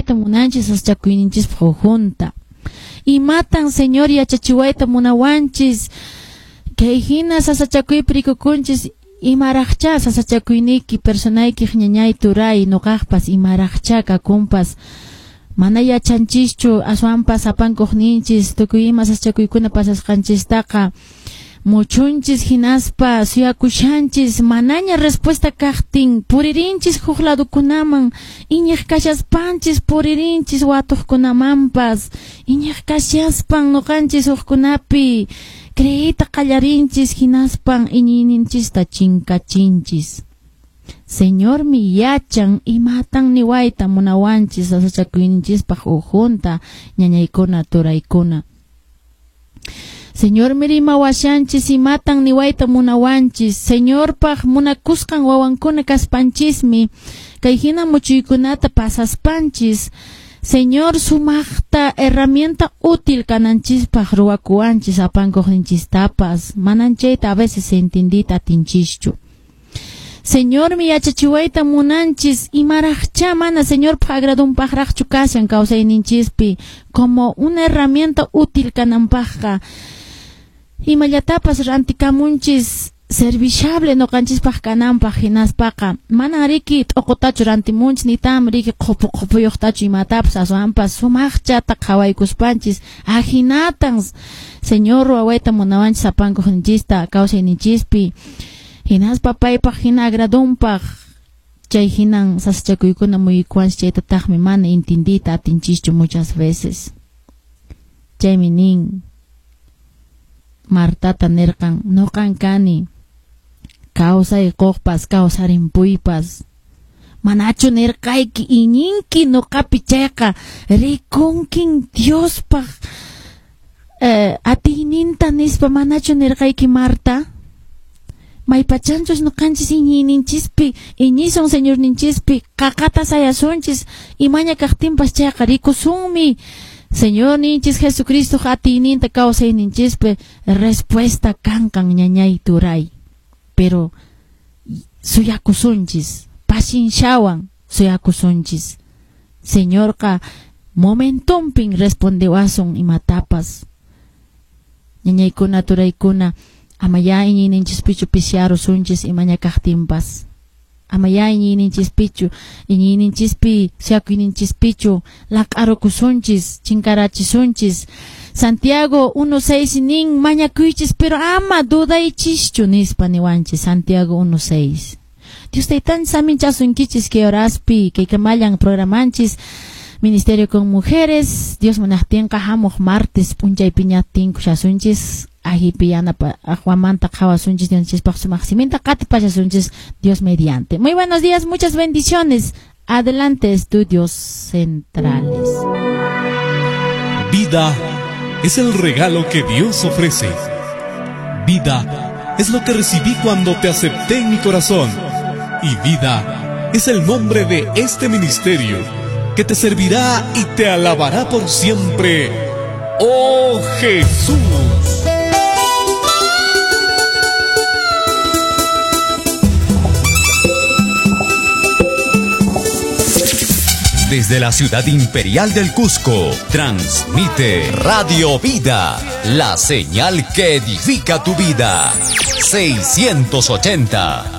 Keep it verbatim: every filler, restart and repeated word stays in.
Yachayta munanchis sasachakuyninchispaq ukhunta. Imatan Señor yachachiwayta munawanchis? Kay hina sasachakuypi rikukunchis, imaraqcha sasachakuyniyki personayki ñañay turay nuqaqpas imaraqcha kakunpas mana yachanchischu, aswanpas apankuqninchis tukuy ima sasachakuykuna pasasqanchistaqa muchunchis hinaspa suyakushanchis manaña respuesta kaqtin puririnchis huk ladukunaman iñiq kashaspanchis puririnchis watuqkunamanpas iñiq kashaspan nuqanchis hukkunapi creeyta qallarinchis hinaspan iñiyninchista chinkachinchis. Señormi yachan imatan niwayta munawanchis sasachakuyninchispaq ukhunta ñañaykuna turaykuna. Señormi rimawashanchis imatan niwayta munawanchis. Señorpaq munakusqan wawankuna kaspanchismi kay hina muchuykunata pasaspanchis Señor sumaqta herramienta útil kananchispaq ruwakuwanchis apankuqninchistapas manan chayta a veces entendita atinchischu. Señormi yachachiwayta munanchis imaraqcha mana Señorpaq agradunpaqraqchu kashan kawsayninchispi como una herramienta útil kananpaqqa imallatapas rantikamunchis serviciable noqanchispaq kananpaq hinaspaqa manan riki t'uqutachu rantimunchis nitam riki qhupu qhupuyuqtachu imatapas aswanpas sumaqchata qhawaykuspanchis ahinatan Señor ruwawayta munawanchis apankuqninchista kawsayninchispi hinaspa paypaq hina agradunpaq chay hinan sasachakuykuna muyikuwanchis chaytataqmi mana intindita atinchischu muchas veces. Chaymi nin Martata nirqan nuqan kani kawsay quqpas kawsarimpuypas manachu nirqayki iñinki nuqapi chayqa rikunkin Diospaq eh, atiyninta nispa manachu nirqayki Marta. Maypachanchus nuqanchis iñiyninchispi iñisun Señorninchispi qaqata sayasunchis imaña kaqtinpas chayqa rikusunmi Señorninchis Jesucristo atiyninta kawsayninchispi respuesta kankan ñañay turay. Pero suyakusunchis pasinshawan suyakusunchis Señorqa momentumpin respondewasun imatapas. Ñañaykuna turaykuna amaya iñiyninchispichu pisyarusunchis imaña kaqtinpas amaya iñiyninchispichu iñiyninchispi suyakuyninchispichu laq'arukusunchis chinkarachisunchis. Santiago uno seis nin mañakuychis pero ama dudaychischu nispa niwanchis Santiago uno seis. Dios taytanchis aminchasunkichis kay horaspi kay kamallan programanchis Ministerio con Mujeres. Dios munaqtinqa hamuq martes p'unchaypiñatin kushasunchis ahipi yanapa ahuamanta qhawasunchis Dioschispaq sumaq siminta qatipachasunchis Dios mediante. Muy buenos días, muchas bendiciones. Adelante, estudios centrales. Vida es el regalo que Dios ofrece. Vida es lo que recibí cuando te acepté en mi corazón. Y vida es el nombre de este ministerio que te servirá y te alabará por siempre. ¡Oh Jesús! Desde la ciudad imperial del Cusco, transmite Radio Vida, la señal que edifica tu vida. seiscientos ochenta.